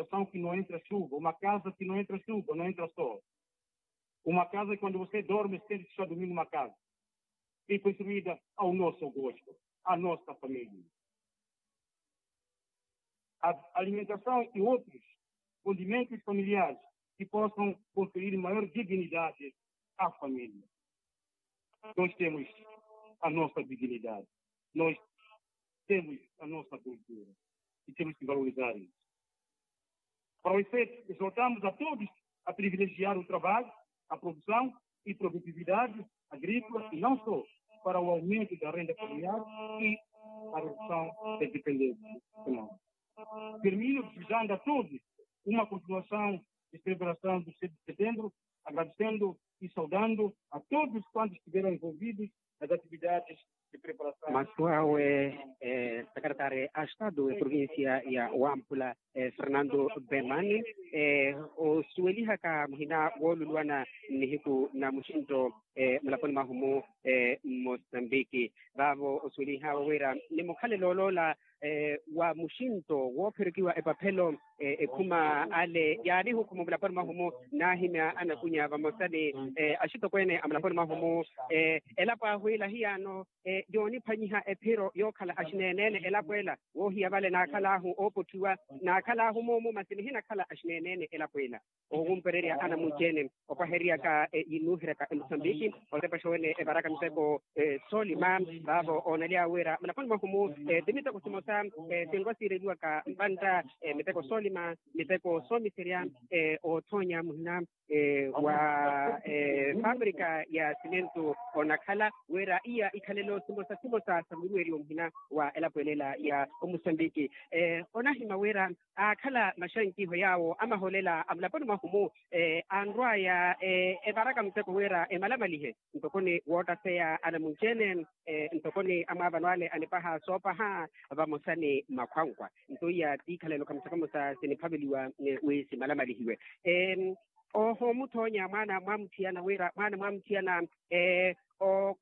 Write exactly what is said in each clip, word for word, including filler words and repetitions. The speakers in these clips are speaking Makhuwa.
construção que não entra chuva, uma casa que não entra chuva, não entra sol. Uma casa que quando você dorme, sente que está dormindo uma casa. E construída ao nosso gosto, à nossa família. A alimentação e outros condimentos familiares que possam conferir maior dignidade à família. Nós temos a nossa dignidade, nós temos a nossa cultura e temos que valorizar isso. Para o efeito, exortamos a todos a privilegiar o trabalho, a produção e produtividade agrícola e não só para o aumento da renda familiar e a redução da dependência econômica. Termino desejando a todos uma continuação de celebração do sete de setembro, agradecendo e saudando a todos quantos estiveram envolvidos nas atividades de preparação. Masu awe, eh, sakaratari a estadu eprovincia ya wampula, eh, fernando bemani, eh, osuwelihaka muhina wooluluwana nnihiku na muxinto, eh, mulaponi mwahu mu, eh, mosambiki vaavo osuwelihawe wira ni mukhalelo oloola, eh, wa muxinto woopherekiwa epaphelo, eh, ekhuma ale yaanihukhuma mulaponi mwahu mu, naahimya anakunya vamosa ni, eh, axitokweene a mulaponi mwahu mu, eh, elapo ahu ila hiyaano, eh, yooniphanyiha ephiro yookhala axineeneene elapo ela woohiya vale naakhalaahu oopotthiwa, naakhalaahu moomo masi nihinakhala axineeneene elapo ela. Owumpererya anamunci-ene opaheryaka, yinuuheryaka emosambiki otepaxa wene evaraka miteko, soolima vaavo oonaly'awe wira mulaponi mwahu-mu, ti miteko simosa, sinrwa siireliwaka mpantta, miteko soolima, miteko soomiserya, oothoonya muhina, wa fabrika ya simentu onakhala wira iya ikhalelo simosa simosa sa muruweryo muhina wa elapo elela ya omosambiki. Onahimya wira aakhala maxankiho yaawo amaholela a mulaponi mwahu-mu, anrw'aya evaraka muteko wira emalamalihe ntokoni woottaseya anamunci-ene, ntokoni amwaavano ale anipaha soopaha vamosa ni makhwankwa. Nto iya tiikhalelo kamosa kamosa siniphaveliwa wi simalamalihiwe. Oho omuthoonya mwaana mwamuthiyana wira mwaana mwamuthiyana,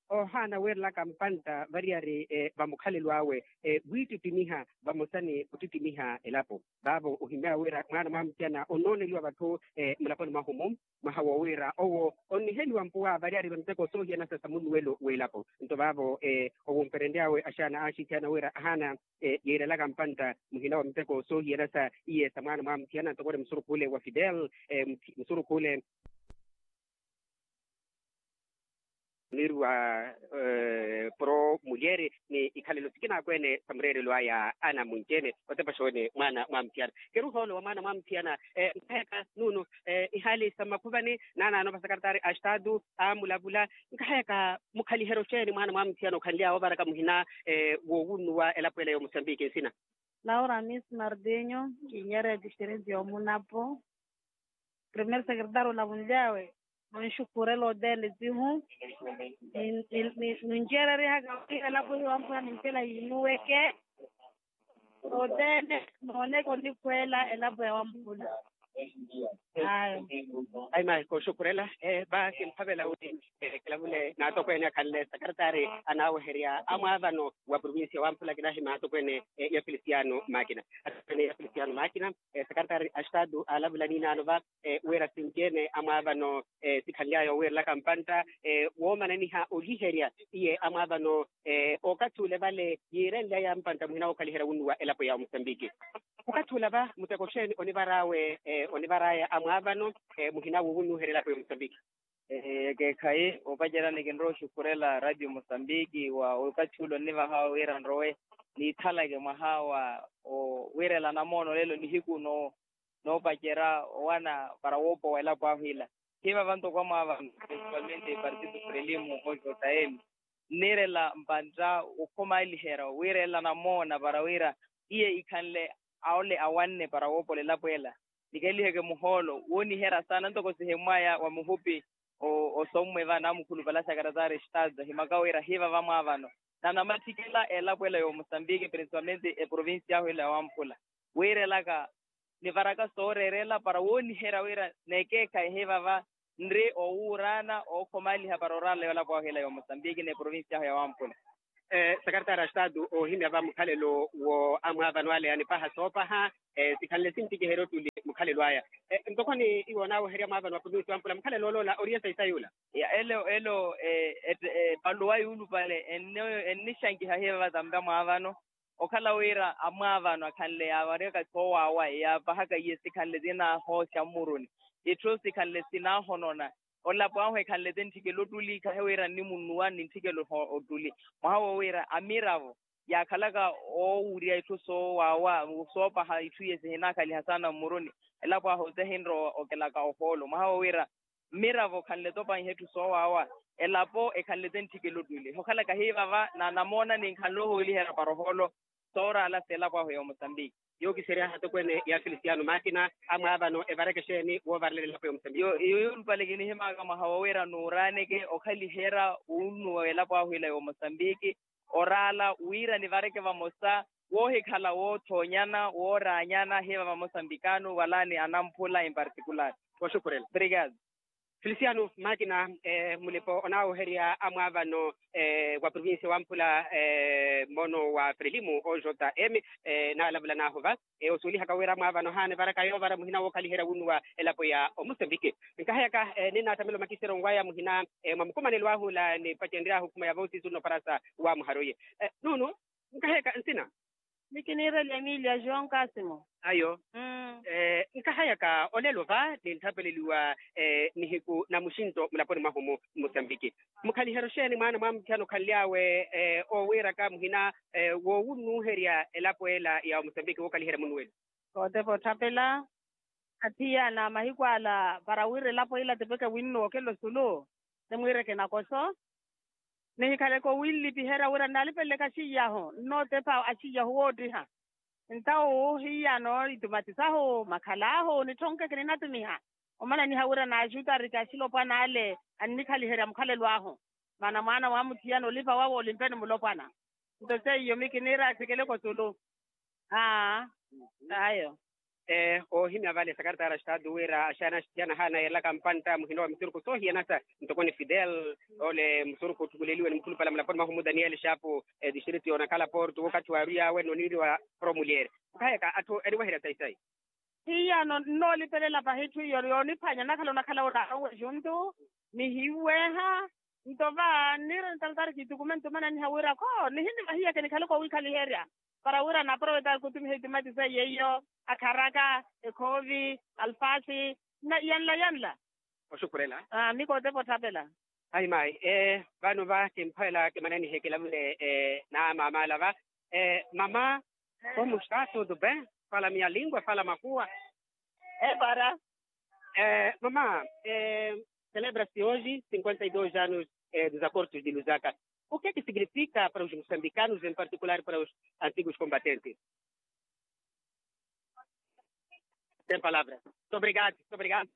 ohaana weerelaka mpantta variyari, vamukhalelo awe, wiittittimiha vamosa ni ottittimiha elapo. Vaavo ohimyaya wira mwaana mwamuthiyana onooneliwa vatthu, mulaponi mwahu-mu, mwaha woowira owo onniheliwa mpuwa variyari va miteko soohiyanasa sa munnuwelo w'elapo. Nto vaavo, owumperenry'awe axaana aaxithiyana wira ahaana, yiirelaka mpantta muhina wa miteko soohiyanasa iye sa mwaana mwamuthiyana ntokore musurukhu ole wa fidel, musurukhu ole oniiri wa pro mulyeri ni ikhalelo sikina akweene sa mureerelo aya anamunci-ene otepaxa wene mwaana mwamuthiyana. Keri ohoolo wa mwaana mwamuthiyana, nkahayaka nuunu ihaali sa mmakhuvani naanaano vasakaratari a estatu aamulavula, nkahayaka mukhaliheryo xeeni mwaana mwamuthiyana okhanly'awe ovaraka muhina woowunnuwa elapo ela ya omosambiki nsina? Laura miss mardinho, kinyerya etixirinti y'omunapo. Primeiro secretário olavunly'awe, nonxukhurela othene tihu, ninceereryehaka wira elapo ya wamphula nimpela yiinuweke. Othene nooneke onikhweela elapo ya wamphula. Ayo. Ayi mayi kooxukhurela, va kimphavela wi kilavule n'atokweene akhanle sakaratari anaaweherya amwaavano wa provincia wamphula kinahimya atokweene ya filisiano makina. Atokweene ya filisiano makina, sakaratari a estatu aalavula niinaano va, wira sinci-ene amwaavano sikhanly'aya owiirelaka mpantta, woomananiha oliherya iye amwaavano okathi ole vale yiirenly'aya mpantta muhina wookhaliherya wunnuwa elapo ya omosambiki. Okathi ola va muteko xeeni onivar'awe, onivar'aya amwaavano muhina woowunnuherya elapo ya omosambiki? Ekeekhayi opacerya nikinrowa oxukhurela radio mosambiki wa okathi ule onnivahawe wira nrowe niithalake mwaha wa owiirela namoona olelo nihiku no noopacerya owana para woopowa elapo ahu ila. Hiivava ntoko amwaavano principalmente partido frelimo ojo taemi nniirela mpantta okhomaliherya wiirelela namoona para wira iye ikhanle ole awanne para woopola elapo ela. Nikeliheke muhoolo wooniherya saana ntoko sihimwaya wa muhupi osommwe va namukhulupala sakaratari estatu ahimaka wira hiivava amwaavano na namatthikela elapo ela ya omosambiki principalmente eprovincia ahu ela ya wamphula wiirelaka nivaraka sooreerela para wooniherya wira nekeekhayi hiivava nri owuuraana ookhomaliha para orala yolapo ahu ela ya omosambiki n'eprovincia ahu ya wamphula. Sakaratari a estatu oohimya va mukhalelo wo amwaavano ale anipaha soopaha sikhanle sintikiherya ottuli. mukhalelo aya. Ntoko ni iwo onaaweherya mwaavano wa provincia wa mpula mukhalelo oloola oriye sayi sayula. Elo elo, epaluwa yuulupale ennixankiha hiva vatampa mwaavano. Okhala wira amwaavano akhanle yaavariyaka soowaawa yaapahaka iye sikhanle sinahooxa mmuruni. Itthu sikhanle sinahonona. Olapo ahu ekhanle te ntthikela ottuli khahi wira nnimunnuwa ni ntthikela ottuli. Mwaha wo wira amiravo yaakhalaka oowurya itthu soowaawa soopaha itthu iye sihinakhaliha saana mmuruni. Elapo ahu te hinrowa okelaka ohoolo mwaha wo wira mmiravo khanle topanyiha itthu soowaawa. Elapo ekhanle te ntthikela ottuli hokhalaka hiivava na namoona ni nkhanle ohooliherya para ohoolo. Sooraala seelapo ahu ya omosambiki. Yookisery'aha atokweene ya felisiano makina amwaavano evareke exeeni woovarelela elapo ya omosambiki? Iyo yuulupale kinihimaka mwaha wo wira nuuraaneke okhaliherya wunnuwa w'elapo ahu ila ya omosambiki. Oraala wira nivareke vamosa woohikhala woothoonyana wooraanyana hiva vamosambikano valani anamphula emparticular. Oxukurela. Obrigado. Felisiano makina, mulipa onaawoherya amwaavano wa provincia wa mpula mmono wa frelimu o j m. Naalavula naahuva osuwelihaka wira amwaavano haana evaraka yoovara muhina wookhaliherya wunnuwa elapo ya omosambiki. Nkahayaka ninnaattamela omakiseryonwaya muhina mwa mukumanelo ahu ola nipacenry'ahu okhuma ya vosi zunno parasa wa muharoye. Nuunu nkahayaka nsina. Mikiniirela emilia joão casimo. Ayo. Nkahayaka olelo va ninttapeleliwa nihiku na muxinto mulaponi mwahu-mu mmusambiki. Mukhaliheryo xeeni mwaana mwa mutthiyana okhanly'awe owiiraka muhina woowunnuuherya elapo ela ya omusambiki wookhaliherya munnuweli. Kootepa otthapela athiyana mahiku ala para wira elapo ila tipeke winnuwa okhela osulu. Nimwiireke nakoso nihikhaleke owinlipiherya wira nnalipeleleke axiy'ahu nnootepha axiy'ahu woottiha. Ntawo hiyano itumati sahu makhal'ahu nitthonke kininatumiha omananiha wira naaxutariki axilopwana ale annikhaliherya mukhalelo ahu. Maana mwaana wa muthiyana olipa wawe olimpeni mulopwana. Nto seiyo mikiniira athikele kosulu. Aa. Ayo. Oohimya vale sakaritara estado wira axaana axithiyana ahaana yeelaka mpantta muhina wa misurukhu soohiyanasa ntoko ni fidel ole musurukhu otthukuleliwe ni mukhulupale mulaponi mwahu mu daniel xaapu. Distrito yoonakhala porto wookathi waarwiy'awe noniiriwa promulier. Okhaayaka atthu eniweherya sayi sayi. Hiyano nnoolipelela pahi etthu iyo yooniphwanya nakhala onakhala oraara onwe juntu nihiweeha. Nto va nniira nitalatari kiitukume ntumananiha wira kho nihinivahiya kinikhaloka owiikhaliherya para wira anaporovetari kutumiha itimati seiyo iyo akharaka ekhoovi alfasi na yanla yanla. Oxukhurela. Mikootepa otthapela. Ayi mayi. Vano va kimphwela kimananihe kilavule na maamaala va. Mama, como está tudo bem? Fala minha língua, fala makuwa. Epara. Mama, celebra-se hoje cinquenta e dois anos dos acordos de lusaka. O que é que significa para os moçambicanos em particular para os antigos combatentes? Tem palavra. Muito obrigado, muito obrigado.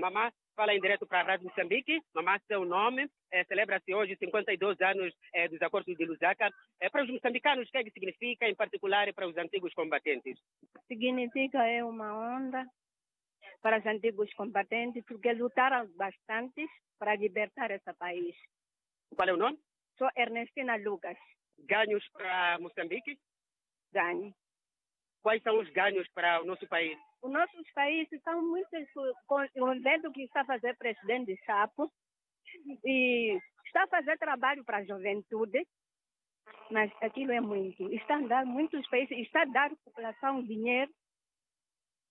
Mama, fala em direto para a rádio moçambique. Mama, seu nome. Celebra-se hoje cinquenta e dois anos dos acordos de lusaka. Para os moçambicanos o que é que significa em particular para os antigos combatentes? Significa é uma honra para os antigos combatentes porque lutaram bastante para libertar esse país. Qual é o nome? Sou ernestina lucas. Ganhos para moçambique. Ganhos. Quais são os ganhos para o nosso país? Os nossos países são muitos. Com o evento que está a fazer presidente chapo e está a fazer trabalho para a juventude. Mas aquilo é muito está a dar muitos países está a dar população dinheiro.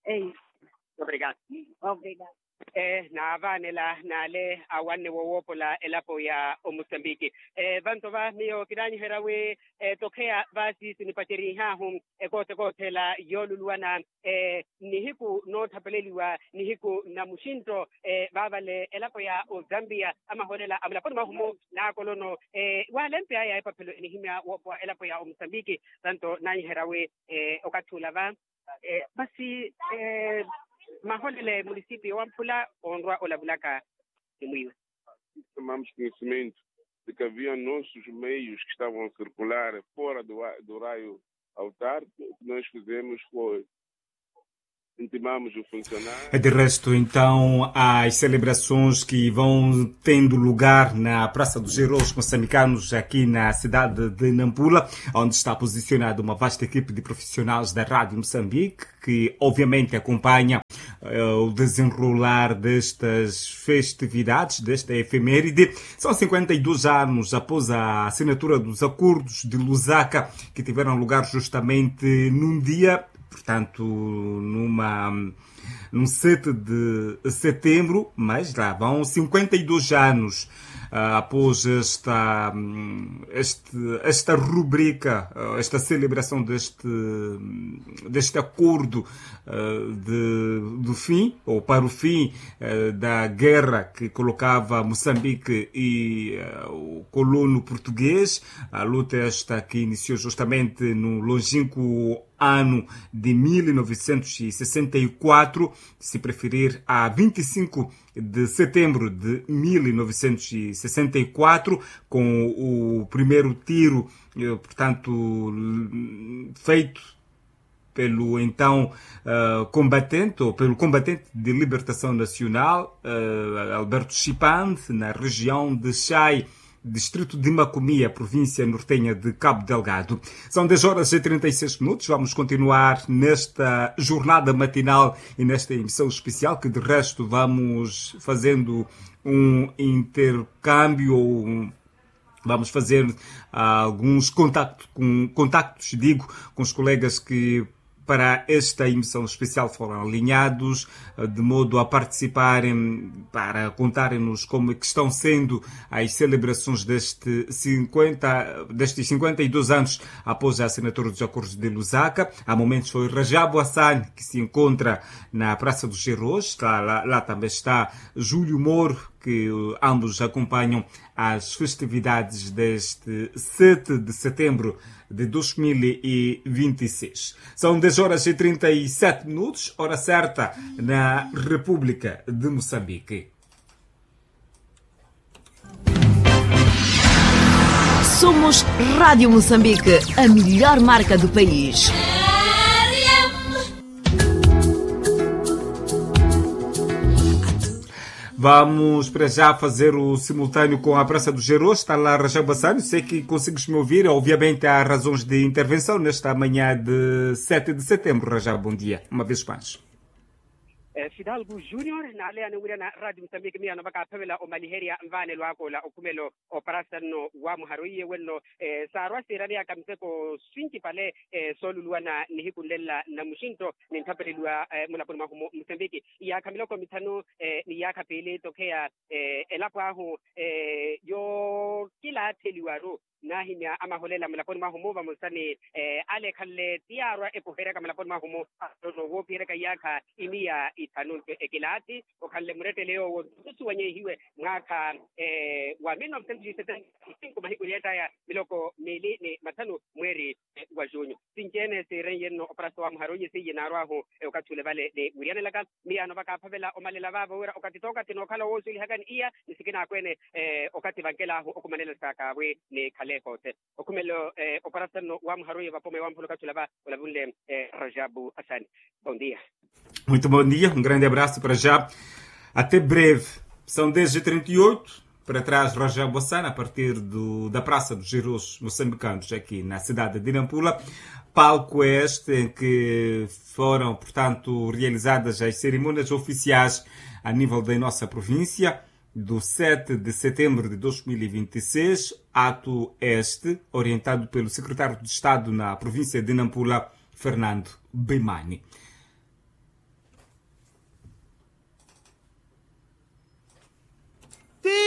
É isso. Obrigado. Obrigado. Naavaanela n'ale awanne wowoopola elapo ya omosambiki. Vanto va miyo kinaanyiherya wi tokheya vaasi sinipacerihaahu ekoote koothela yooluluwana nihiku noothapeleliwa nihiku na muxinto. Vaavale elapo ya ozambiya amahoolela amulaponi mwahu-mu n'akolono waalempeyaya epaphelo enihimya woopowa elapo ya omosambiki. Vanto naanyiherya wi okathi ula va. Masi maholele munisipio wa mphula onrwa olavulaka ni mwiiwe. Tomamos conhecimento de que havia nossos meios que estavam a circular fora do raio autárquico. O que nós fizemos foi intimamos o funcionário. De resto então as celebrações que vão tendo lugar na praça dos heróis moçambicanos aqui na cidade de nampula, onde está posicionada uma vasta equipe de profissionais da rádio moçambique, que obviamente acompanha eh, o desenrolar destas festividades, desta efeméride. São cinquenta e dois anos após a assinatura dos acordos de Lusaka, que tiveram lugar justamente num dia, portanto, numa, num sete de setembro, mas lá vão cinquenta e dois anos, ah, após esta, hum, este, esta rubrica, ah, esta celebração deste, deste acordo, ah, de, do fim, ou para o fim, eh, da guerra que colocava Moçambique e, eh, o colono português, a luta esta que iniciou justamente no longínquo ano de mil novecentos e sessenta e quatro, se preferir, a vinte e cinco de setembro de mil novecentos e sessenta e quatro, com o primeiro tiro, eh, portanto, feito pelo então, eh, combatente, ou pelo combatente de libertação nacional, eh, Alberto Chipande, na região de Chai, distrito de Macomia, província nortenha de Cabo Delgado. São dez horas e trinta e seis minutos. Vamos continuar nesta jornada matinal e nesta emissão especial, que de resto vamos fazendo um intercâmbio ou um, vamos fazer, ah, alguns contactos, com, contactos, digo, com os colegas que para esta emissão especial foram alinhados, ah, de modo a participarem, para contarem-nos como é que estão sendo as celebrações deste cinquenta, destes cinquenta e dois anos após a assinatura dos acordos de Lusaka. Há momentos foi Rajab Hassan, que se encontra na Praça dos Heróis, está lá, lá também está Júlio Moro, que, eh, ambos acompanham as festividades deste sete de setembro de dois mil e vinte e seis. São dez horas e trinta e sete minutos, hora certa na República de Moçambique. Somos Rádio Moçambique, a melhor marca do país. Vamos para já fazer o simultâneo com a Praça dos Heróis. Está lá Rajab Hassan. Sei que consegues me ouvir. Obviamente há razões de intervenção nesta manhã de sete de setembro. Rajab, bom dia. Uma vez mais. Eh, Fidalgo Junior, n'aleya ni wira na Rádio Moçambique, miya novaka aphavela omaliherya nvaanelo akoola okhumelo oparasa nno wa muharo iye wenno, eh, saarwa siirani yaka miseko swinci pale, eh, sooluluwana nihiku nlela na muxinto, ninthapeleliwa, eh, mulaponi mwahu mu Moçambique. Iyaakha miloko mithanu, eh, ni iyaakha piili tokheya, eh, elapo ahu, eh, yookilaatheliwaru naahimya amaholela mulaponi mwahu mu vamosa ni, eh, ale ekhanle ti yaarwa epoheryaka mulaponi mwahu mu, no woopiheryaka iyaakha imiya ithanu. Nto ekilaathi okhanle murettele yoowo ntusuwanyehiwe mwaakha, eh, wa mil novecentos e setenta e cinco mahiku ni ettaya miloko miili ni mathanu mweeri wa junho. Sinci-ene siirenye nno oparasa wa muharo iye seiye naarw'ahu, eh, okathi ule vale ni wiriyanelaka. Miyaano vakaaphavela omalela vaavo wira okathi tookathi nookhala woosulihakani iya ni sikina akweene, eh, okathi vankel'ahu okumanela sakaavwi ni khale ehoote. Okhumelo, eh, oparasa nno wa muharo iye vapome wa muholo okathi ula va olavunle, eh, Rajabu Asani. Bom dia. Muito bom dia, um grande abraço para já. Até breve. São dez e trinta e oito. Para trás, Rajab Hassan, a partir do, da Praça dos Heróis Moçambicanos, aqui na cidade de Nampula. Palco este em que foram, portanto, realizadas as cerimônias oficiais a nível da nossa província, do sete de setembro de dois mil e vinte e seis, ato este orientado pelo secretário de Estado na província de Nampula, Fernando Bemani.